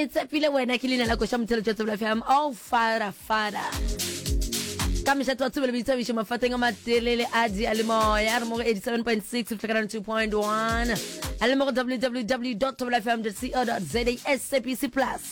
Ke tshepile wena ke leina la koša motheletšo tsebela fm oh fara fara ka mešato wa tsebelo boithabišo mafateng a matelele a dialemoya re mo go 87.6 fihla 2.1 a le mo go www tobelafm co za sabc plus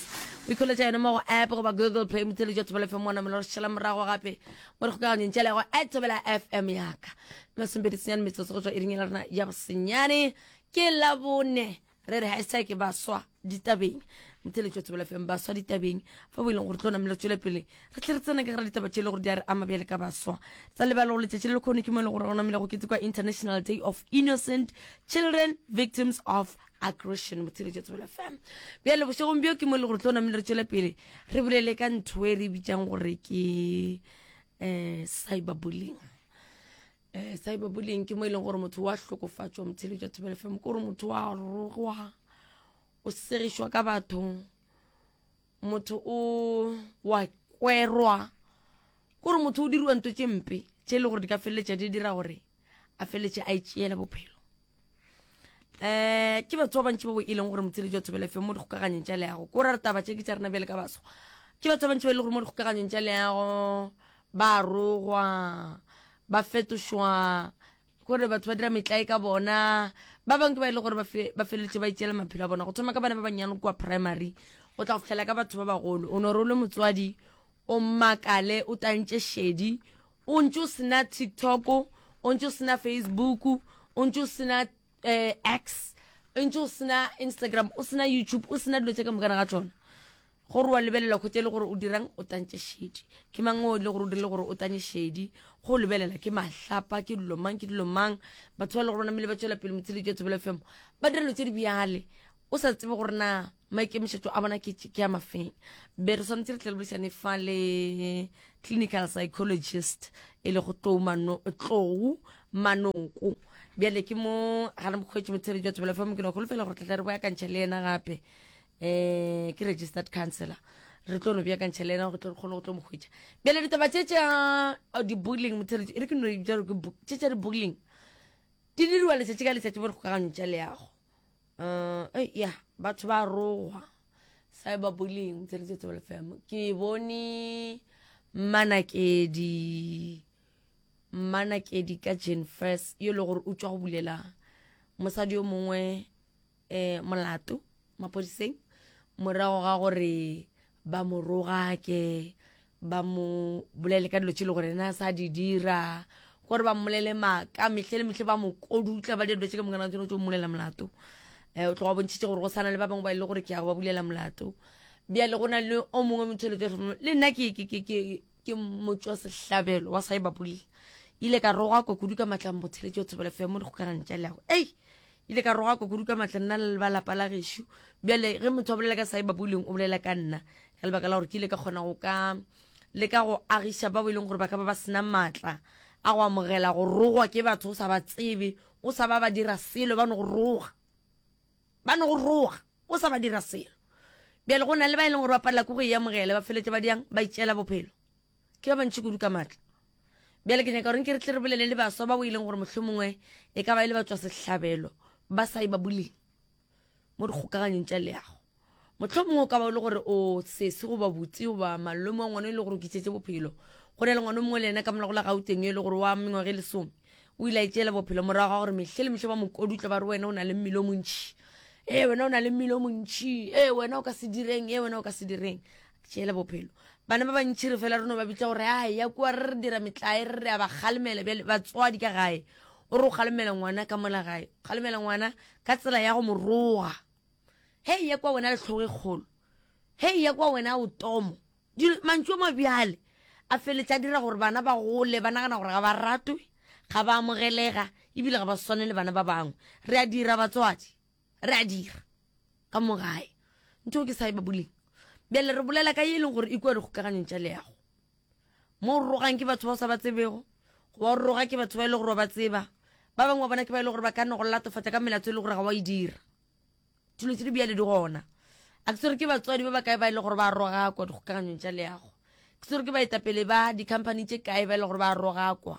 o ikholetša yone mo go app goba google play motheletšo thobela fm wa namela re šala morago gape mo re kgokaganyong tša lego at thobela fm yaka masomepedi senyane metsotso go tšwa iring ya rena ya bosenyane ke labone re re hashtag baswa ditabeng motheletšo wa tsebela fm baswa ditabeng fa bo e leng gore tlo namela tswele pele re tle re tsena ka gara ditaba tše e le gore di a re ama bjale ka baswa tsa lebala gore letšatši le lekgone ke mo e leng gore go namela go ketekwa international day of innocent children victims of aggression motheletšo wa tsebela fm bjale bošegong bjo ke mo e leng gore tlo namela re tswele pele re bolele ka ntho e re bitsang gore ke um cyberbullying um cyberbullying ke mo e leng gore motho wa hlokofatšwa motheletšwa thobela fm ke gore motho wa rogwa o segišwa ka batho motho o wa kwerwa ke gore motho o diriwa nto tše mpe tše e le gore di ka feleletša di dira gore a feleletše a itšeela bophelo um ke batho ba bantši ba bo e leng gore motheletši wa thobela fm mo dikgokaganyong tša leago ko ra re taba tše ke tša rena bjale ka baswa ke batho ba bantši ba e le gore mo dikgokaganyong tša leago ba rogwa ba fetošwa kore batho ba dira metlae ka bona ba bangwe ke ba e le gore ba feleletše ba itšeela maphelo a bona go thoma ka bana ba bannyane kua primary go tla go fitlhela ka batho ba bagolo o no re o le motswadi o makale o tantše šedi o ntše o sena tiktok o ntše o sena facebook o ntše o sena um x o ntše o sena instagram o sena youtube o sena dilo tše ka mokana ga tsona Gore wa lebelela kgwetša e le gore o dirang o tantše šedi. Ke mang o e le gore o dirile gore o tanye šedi? Go lebelela ke mahlapa, ke dilo mang, ke dilo mang. Batho ba le gore ba namile ba tšwela pele motsheletši wa Thobela FM ba dira dilo tše di bjale o sa tsebe gore na maikemišetšo a bona ke ke a mafeng. Be re swanetše re tle re boledišane fa le clinical psychologist e le go Tlou Mano, Tlou Manoko. Bjale ke mo ga re mokgwetši motsheletši wa Thobela FM ke no holofela gore tla tla re boakantšha le yena gape. um ke registered councillor re tlo no beakantšha le ena gore tlo re kgone go tlo mo hwetša bjale ditaba tše tša oh, di-bullying motheletši e re ke no bitša gore ke tše tša di-bullying di diriwa letšatši ka letšatši bo re kgokagano tša leago um ya batho ba rogwa cyber bullying motheletši tsebele fm ke bone mmanakedi mmanakedi ka jane first yo e le gore o tšwa go bulela mosadi yo mongwe eh, molato maphodiseng morago ga gore ba mo rogake ba mo bolele ka dilo tše le gore ena a sa di dira gore ba mmolele maaka mehle le mehle ba mo kodutla ba dira dilo tše ka mokana tsone tso mmolela molato um o tloga bontšhitše gore go sana le ba bangwe ba e le gore ke ya go ba bulela molato bjale go na le o mongwe motho le nna ke motswa sehlabelo wa cyber bullying ile ka rogakwa kudu ka matla motheletši wa thobela fm mo dikgokaganong tša leago ei ile ka rogakwa kudu ka matla nna le ba lapa la gešo bjale ge motho a bolela ka cyber bullying o bolela ka nna ka lebaka la gore ke ile ka kgona go ka le ka go agiša ba bo e leng gore ba ka ba ba sena maatla a go amogela go rogwa ke batho o sa ba tsebe o sa ba ba dira selo ba no go roga ba no go roga o sa ba dira selo bjale go na le ba e leng gore ba palela ko go e amogela ba feletse ba diang ba itšeela bophelo ke ba bantši kudu ka maatla bjale ke nyaka gore nke re tle re bolele le baswa ba o e leng gore mohlho mongwe e ka ba e le batswa sehlabelo ba sa e ba buleng mo dikgokaganyong tša leago mohlho mongwe o ka ba o le gore o sesi goba botse goba malome wa ngwana e le gore o kitsetse bophelo go na le ngwana o mongwe le ena ka morago la gauteng e le gore wa mengwaga e lesome o ile a itšeela bophelo morago ga gore mehle le mehle ba mokodutla ba re wena o na le mmele o montšhi ee wena o na le mmele o montšhi ee wena o ka se direng ee wena o ka se direng tšeela bophelo bana ba bantšhi re fela re no ba bitsa gore a ya kua re re dira metlae re re a ba kgalemela bjale batswadi ka gae o re o kgalemela ngwana ka mola gae kgalemela ngwana ka tsela ya go mo roga hei ya kwa wena letlhogo e kgolo hei ya kwa wena o tomo mantšu a mabjale a feletša a dira gore bana ba gole ba nagana gore ga ba ratwe ga ba amogelega ebile ga ba swane le bana ba bangwe re a dira batswadi re a dira ka mo gae ntho ke sa e ba buleng bjale re bolela ka ye e leng gore e kua dikgokaganyong tša leago mo o rogang ke batho ba o sa ba tsebego goba o roga ke batho ba e le gore wa ba tseba ba bangwe ba bona ke ba e le gore ba ka nne go latofatša ka melato e le gore ga wa e dira dilo tse di bjale di gona a ke tsere ke batswadi ba ba kae ba e le gore ba rogakwa dikgokaganyong tša leago ke tsere ke baetapele ba di-company tše kae ba e le gore ba rogakwa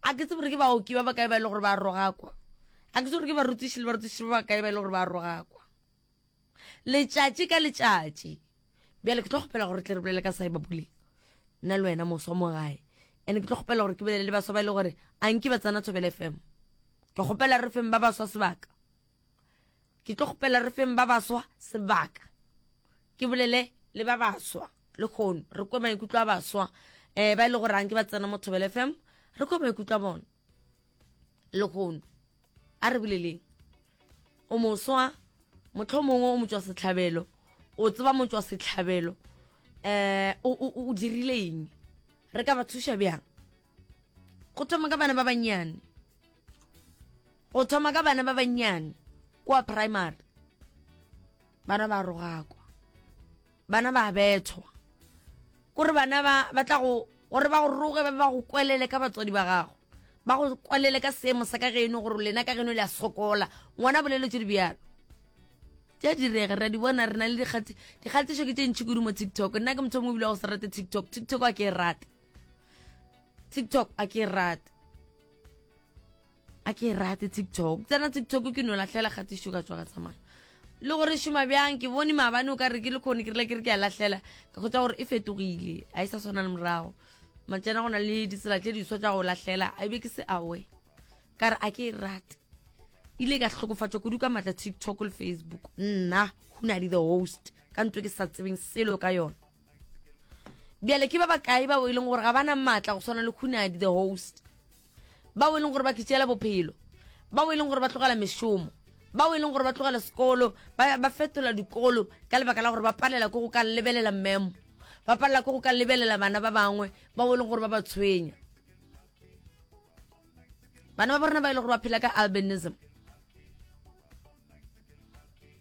a ke tsebe gore ke baoki ba ba kae ba e le gore ba rogakwa a ke tsebe gore ke barutiši le barutiši ba ba kae ba e le gore ba rogakwa. Letšatši ka letšatši. Bjale ke tlo kgopela gore tle re bolele ka cyber bullying. Nna le wena moswa mo gae. Ene ke tlo kgopela gore ke bolele le baswa ba e le gore a nke ba tsena Thobela FM. Ke kgopela re feng ba baswa sebaka. Ke tlo kgopela re feng ba baswa sebaka. Ke bolele le ba baswa le kgono re kwe maikutlo a baswa um ba e le gore a nke ba tsena mo Thobela FM re kwe maikutlo a bona le kgono. A re boleleng. O moswa, mohlomongwe o motšwa sehlabelo, o tseba motšwa sehlabelo, um o, o dirile eng? Re ka ba thuša bjang? Go thoma ka bana ba bannyane, go thoma ka bana ba bannyane kua primary, bana ba rogakwa. Bana ba bethwa. Kore bana ba ba tla go gore ba go roge ba ba go kwelele ka batswadi ba gago. Ba go kwelele ka seemo sa ka geno gore lena ka geno le a sokola. Ngwana bolelo tše di bjalo. Tša direga re a di bona re na le dikgati dikgatišo ke tše ntši kudu mo TikTok. Nna ke motho o mongwe ebile wa go se rate TikTok. TikTok a ke e rate. TikTok a ke e rate. A ke e rate TikTok. Tsena TikTok ke no lahlela kgatišo ka tswa ka tsamaya. Le gore šoma bjang ke bone maabane o ka re ke le khone ke rile ke re ke a lahlela ka kgotsa gore e fetogile a e sa swana le morago. Matšana go na le ditsela tše diswa tša go lahlela a be ke se awe. Ka re a ke e rate. Ile ka hlokofatšwa kudu ka matla TikTok le Facebook. Nna Hunadi the host ka ntwe ke sa tsebeng selo ka yona. Bjale ke ba bakae bao e leng gore ga ba na maatla go swana le Hunadi the host. Bao e leng gore ba kitšela bophelo, bao e leng gore ba tlogela mešomo, bao e leng gore ba tlogela sekolo, ba, ba fetola dikolo ka lebaka la gore ba palela ke go ka lebelela memo, ba palela ke go ka lebelela bana ba bangwe bao e leng gore ba ba tshwenya. Bana ba borena ba e leng gore ba phela ka albinism.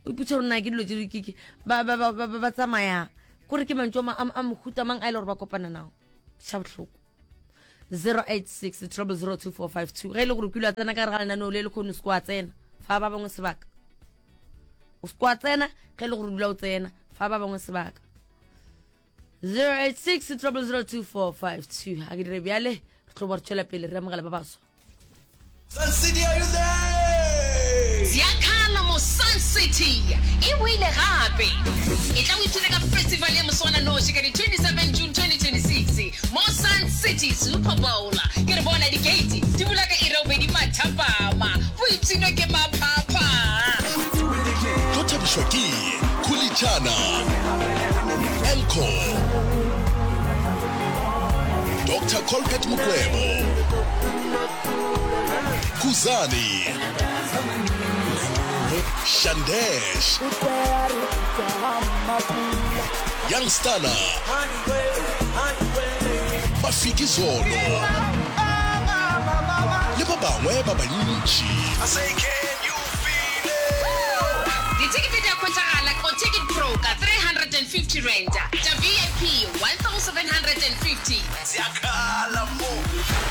O ipotša gore na ke dilo tse di ba ba ba ba ba tsamaya kore ke mantšu a mohuta mang a e le gore ba kopana nao. Ša bohloko. 086 0002452 ge e le gore o kile wa tsena ka gare ga lenaneo le le kgone o se wa tsena fa ba bangwe sebaka o se wa tsena ge e le gore o dula o tsena fa ba bangwe sebaka 086 0002452 a ke dire bjale re tlo ba re tšwela pele re amogela ba baswa Sun City, are you there? Ziakhala mo Sun City e boile gape. Etla o ipshine ka festival ya moswananoši ka di 27 June 2026 mo Sun City Super Bowl. Ke re bona di-gate di bula ka iri ya bobedi mathapama. Boipshino ke maphapha. Tlo thabišwa ke Khulitšana, Elcor, Doctor Colbert Mukwevho, Khuzani, Shandesh, Young Stunna, Mafikizolo le ba bangwe ba bantši. Dithekete di a hwetšagala ko Ticket Pro ka R350, tša VIP R1750. Ziyakhala mo.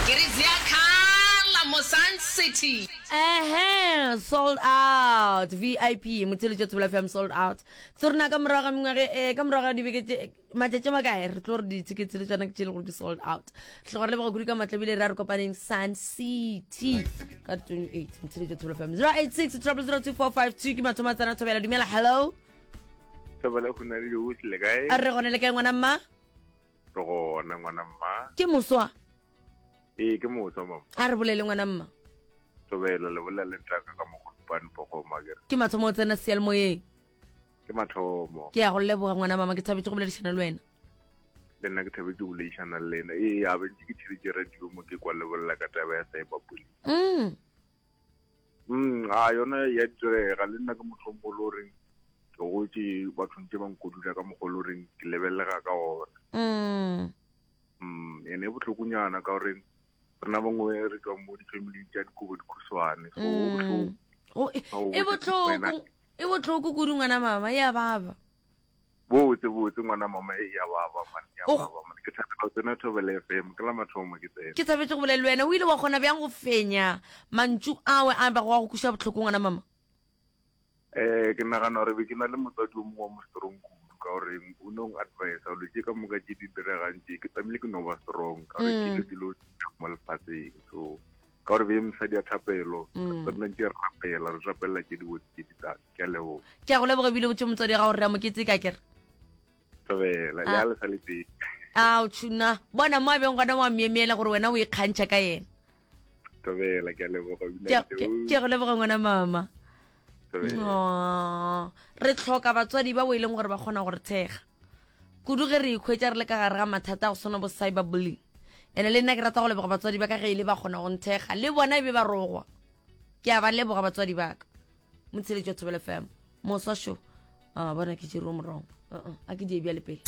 Ke re ziyakhala mo Sun City. Ehe, sold out. VIP, motheletši wa Thobela FM sold out. Ke tlo rena ka morago ga mengwaga eh, ka morago ga dibeke tše matšatši a makae re tlo re di-tickets le tšona ke tše e le gore di sold out. Re tloga re leboga kudu ka matla ebile re a re kopaneng Sun City ka 28 motheletši wa Thobela FM 086 0002452 ke mathomo a tsena Thobela. Dumela, hello. Thobela go na le diosi le kae? A re gone le kae ngwana mma? Re gona ngwana mma. Ke moswa. Ee, ke moswa mama. A re bolele ngwana mma. Thobela le bolela le ntaka ka mogolopane pogoma kere. Ke mathomo o tsena seyalemoyeng. Ke mathomo. Ke ya go leboga ngwana mama, ke thabetše go boledišana le wena. Le nna ke thabetše go boledišana le lena. Ee, a bentše ke theletše radio mo ke kwa le bolela ka taba ya cyber bullying. A yona ya direga le nna ke motho o mongwe le goreng ke gotše batho ntse ba nkodula ka mokgwa le goreng ke lebelega ka ona. Ene e bohlokonyana ka gore rena bangwe re tswa mo di-family tša dikobo dikhuswane, so go bohloko. E bohloko, e bohloko kudu ngwana mama, ya baba. Botse botse ngwana mama, e ya baba man, ya baba man. Ke thabela go tsena Thobela FM, ke la mathomo ke tsena. Ke thabetse go bolela le wena. O ile wa kgona bjang go fenya mantšu awe a bago wa go kweša bohloko ngwana mama? Eh, ke nagana gore be ke na le motswadi o mongwe wa mo strong kudu ka gore o ne o advise dilo tše ka moka tše di diregang tše ke tlamehile ke no ba strong ka gore ke dilo dilo mo lefatsheng so. Ka gore be mosadi ya thapelo, mm. re nna ntse re rapela, re rapelela tše dibotse tše di tlang. Ke a leboga. Ke a go leboga ebile botse motswadi ga gore re a moketse ka kere. Thobela, le a le sa le teng. Ao tšhuna, bona mo a beng gona wa myemyela gore wena o ikgantšha ka yena. Thobela, ke a leboga. Ke a go leboga ngwana mama. Aww, re tlhoka batswadi ba bo e leng gore ba kgona go re thekga kudu ge re ikhwetša re le ka gare ga mathata a go swana bo cyber bullying. Ene le nna ke rata go leboga batswadi ba ka ge e le ba kgona go nthekga le bona e be ba rogwa. Ke a ba leboga batswadi ba ka. Motsheletši wa Thobela FM. Moswa šo. A bona ke tšere o morong. Uh-uh, a ke die bjale pele.